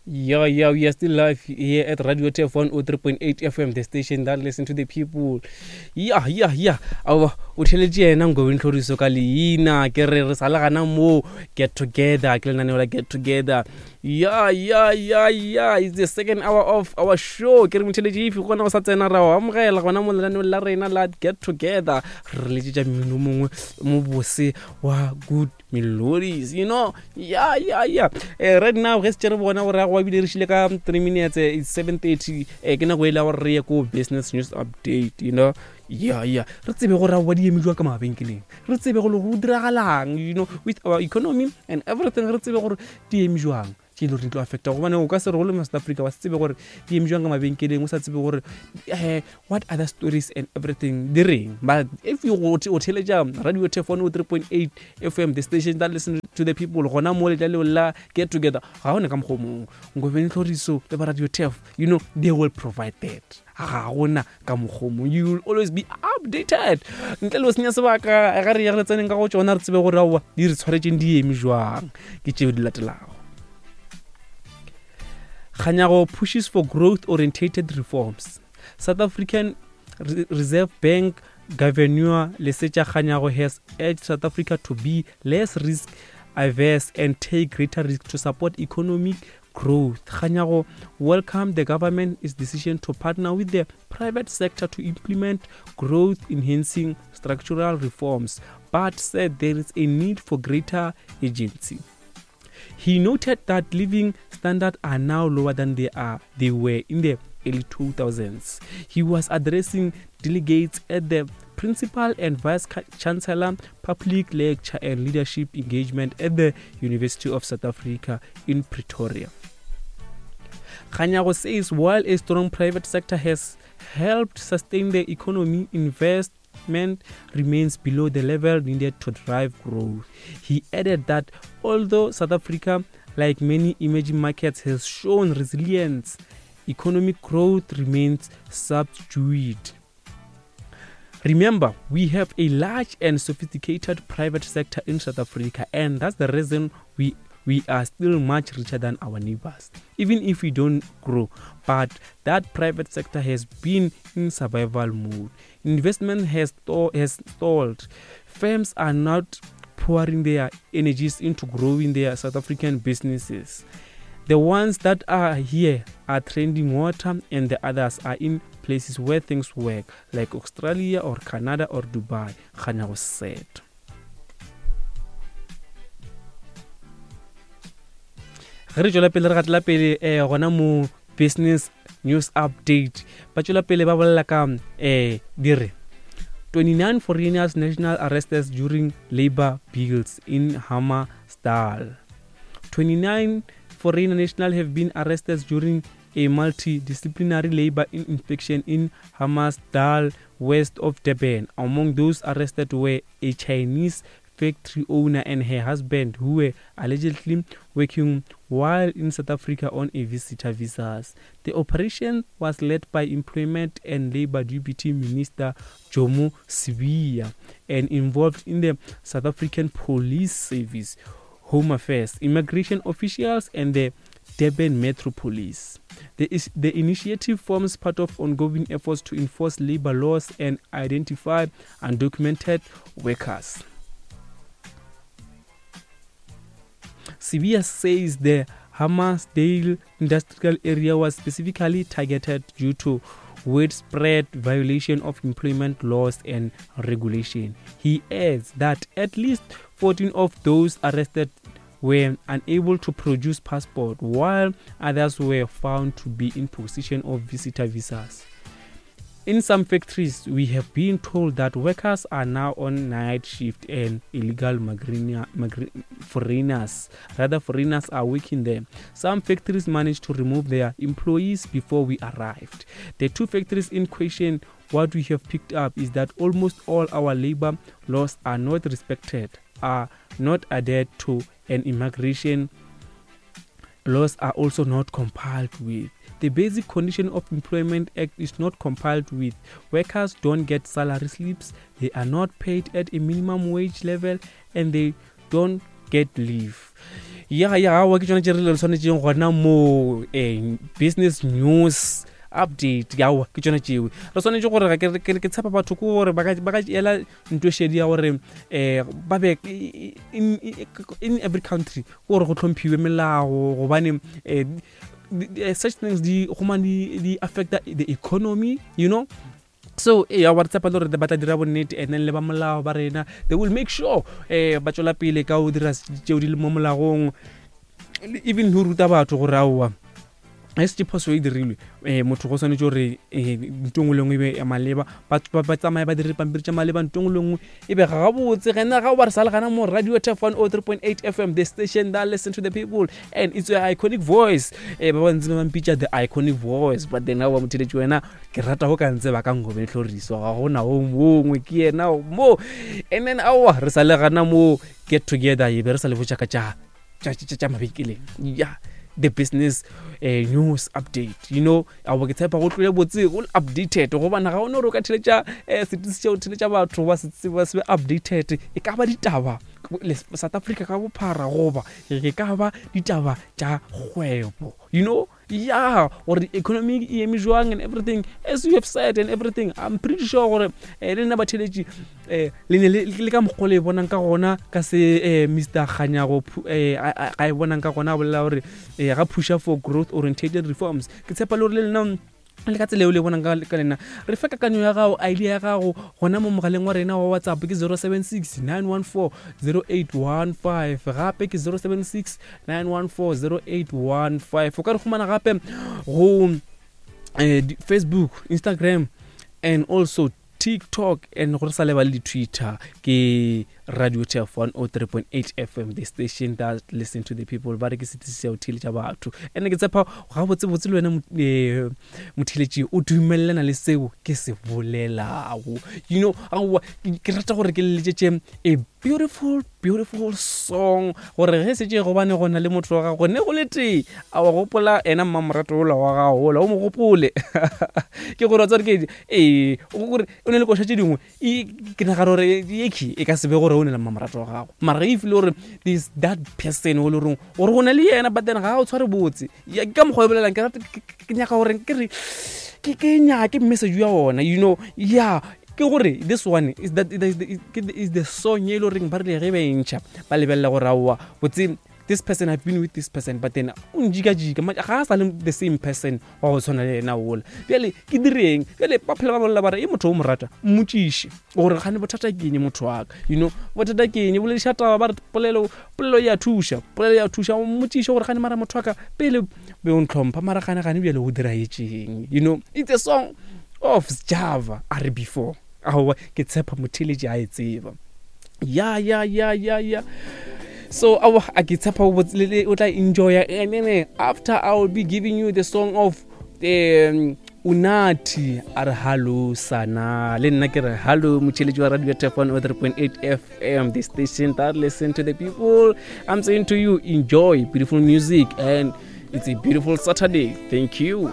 Yeah, yeah, we are still live here at Radio TF 103.8 FM, the station that listen to the people. Yeah, yeah, yeah. Awa, o theletše yena Ngobeni Tlhoriso ka leina ke re re sa le gana moo get together ke lenaneo la get together. Yeah, yeah, yeah, yeah. It's the second hour of our show. Ke re motheletše if gona o sa tsena ra o amogela gona mo lenaneong la rena la get together. Re letšetša mmino mongwe mo bose wa good melodies you know yeah yeah yeah eh, right now ge se re bona gore go bile re šile ka 3 minutes eh, it's 7:30 eh, ke nako e le gore re ye ko business news update you know yeah yeah re tsebe gore ba di eme jwa ka mabenkeleng re tsebe gore go diragalang you know with our economy and everything re tsebe gore di eme jwang tše e le gore di tlo affecta gobane o ka se re go le south africa wa se tsebe gore di eme jwang ka mabenkeleng o sa tsebe gore um what other stories and everything di reng but if you o theletša radio tefone o 3.8 fm the station that listen to the people gona mo letla leo la get together ga one ka mokgwa mongwe ngobeng tlhoriso le ba radio tef you know they will provide that ga gona ka mokgwa mongwe you will always be updated ntle le o senya sebaka ga re ya re tseneng ka go tsona re tsebe gore aowa di re tshwaretseng di eme jwang ke tšeo di latelago Kganyago pushes for growth orientated reforms. South African Reserve Bank Governor Lesetja Kganyago has urged South Africa to be less risk averse and take greater risk to support economic growth. Kganyago welcomed the government's decision to partner with the private sector to implement growth enhancing structural reforms, but said there is a need for greater agency. He noted that living standards are now lower than they are they were in the early 2000s. He was addressing delegates at the Principal and Vice Chancellor Public Lecture and Leadership Engagement at the University of South Africa in Pretoria. Kganyago says while a strong private sector has helped sustain the economy, investment remains below the level needed to drive growth. He added that although South Africa, like many emerging markets, has shown resilience, economic growth remains subdued. Remember, we have a large and sophisticated private sector in South Africa, and that's the reason we we are still much richer than our neighbors, even if we don't grow. But that private sector has been in survival mode. Investment has, has stalled. Firms are not pouring their energies into growing their South African businesses. The ones that are here are trending water, and the others are in places where things work, like Australia or Canada or Dubai, Kganyago said. ge re tšwela pele re gatela pele um gona mo business news update ba tšwela pele ba bolela ka um di re 29 foreigners national arrested during labor bills in hammersdal 29 foreign nationals have been arrested during a multidisciplinary labor inspection in Hammarsdal, west of Durban. Among those arrested were a Chinese factory owner and her husband who were allegedly working while in South Africa on a visitor visas. The operation was led by Employment and Labor Deputy Minister Jomo Sibiya and involved in the South African Police Service, Home Affairs, immigration officials and the Durban Metro Police. The, is, the initiative forms part of ongoing efforts to enforce labor laws and identify undocumented workers. Sibiya says the Hammarsdale industrial area was specifically targeted due to widespread violation of employment laws and regulation. He adds that at least 14 of those arrested were unable to produce passport while others were found to be in possession of visitor visas. In some factories, we have been told that workers are now on night shift and illegal foreigners, rather foreigners are working there. Some factories managed to remove their employees before we arrived. The two factories in question, what we have picked up is that almost all our labor laws are not respected, are not adhered to, and immigration laws are also not complied with. The Basic Condition of Employment Act is not complied with. Workers don't get salary slips, they are not paid at a minimum wage level, and they don't get leave. Ya ya awa ke tsone tše re le tshwanetseng gona mo um business news update aowa ke tsone tšewe re swanetše gore ga ke tshepa batho ke gore ba ka ela nto šedi ya gore um ba be in every country ke gore go tlhomphiwe melao gobane um such things di gomane di affecta the economy you know. So ee ba re tshepa le gore ba tla dira bonnete, and then le ba molao ba rena, they will make sure um ba tswela pele ka go dira tšeo di le mo molagong, even go ruta batho gore aowa ge setse phoso e dirilwe um motho go swanetše gore um nto nngwe le nngwe e be ya maleba, ba tsamaye ba dire dipampiri tša maleba, nto nngwe le nngwe e be gabotse. Gena ga o ba re sa le gana mo Radio Tef 103.8 FM, the station that listen to the people, and it's your iconic voice. Ba bantsi ba mpitša the iconic voice, but then ga ba motheletše wena ke rata go ka ntse ba ka Ngobeng Tlhoriso, ga gona o mongwe ke yena mo. And then aowa re sa le gana mo get together, e be re sa le botša ka tša mabekeleng ya the business news update, you know. Abo ke tshepa go tlole botse go updated, gobane ga o ne gore o ka theletša setisi tša go theletša batho ba se ba se updated, e ka ba ditaba South Africa ka bophara goba e ka ba ditaba tša kgwebo, you know, ya gore economy e eme jwang and everything, as you have said and everything. I'm pretty sure gore le nna batheletši le ne le ka mokgwa le e bonang ka gona ka se Mr Kganyago ga e bonang ka gona, a bolela gore ga pusha for growth orientated reforms. Ke tshepa le gore le lena le ka tsela eo le bonang ka lena. Re fe kakanyo ya gago, idea ya gago gona mo mogaleng wa rena wa WhatsApp, ke 076 914 0815, gape ke 076 914 0815. O ka re humana gape go Facebook, Instagram and also TikTok, and gore sa lebale di-Twitter, ke Radio Tef 103.8 FM, the station that listen to the people. Ba re ke setisi sa go theeletša batho, and ke tshepa gabotsebotse le wena motheeletši o dumelelana le seo ke se bolelago, you know. Aowa ke rata gore ke leletšetše a beautiful beautiful song gore ge setse gobane go na le motho wa gago ne go le tee a wa gopola ena mmamorato ola wa gago ola o mo gopole, ke gore wa tsare ke ee gore o ne le koša tše dingwe, ke nagana gore eke e ka se be gore o ne le mmamorato wa gago, mara ge e file gore this that person o le goreng gore go na le yena, but then ga o tshware botse ke ka mokgwa e bolelang. Ke rata ke nyaka gore ke re ke nyake message ya ona, you know. Yeah, ke gore this one is that is the song e le goreng ba rile ge ba e ntšha ba lebelela gore aowa botse this person, I've been with this person, but then o njikajika ga a sa le the same person wa go tshwana le ena ola. Bjale ke direng? Bjale ba phela ba bolela ba re e motho o mo rata, mmotšiše gore gane bothata ke eng, motho wa ka, you know, bothata ke eng. Bolediša taba, ba re polelo polelo ya thuša, polelo ya thuša. O mmotšiše gore gane mara motho wa ka pele be o ntlhompha, mara gane gane bjale o diraetšeng, you know. It's a song of Java, a re before. Aowa ke tshepa motheletši a e tseba. Ya ya ya ya ya, so aowa a ke tshepa o tla enjoya. And then after I will be giving you the song of Unathi, a re hallo sana. Le nna ke re hallo motheletši wa Radio Tef 103.8 FM, the station that listen to the people. I'm saying to you, enjoy beautiful music, and it's a beautiful Saturday. Thank you.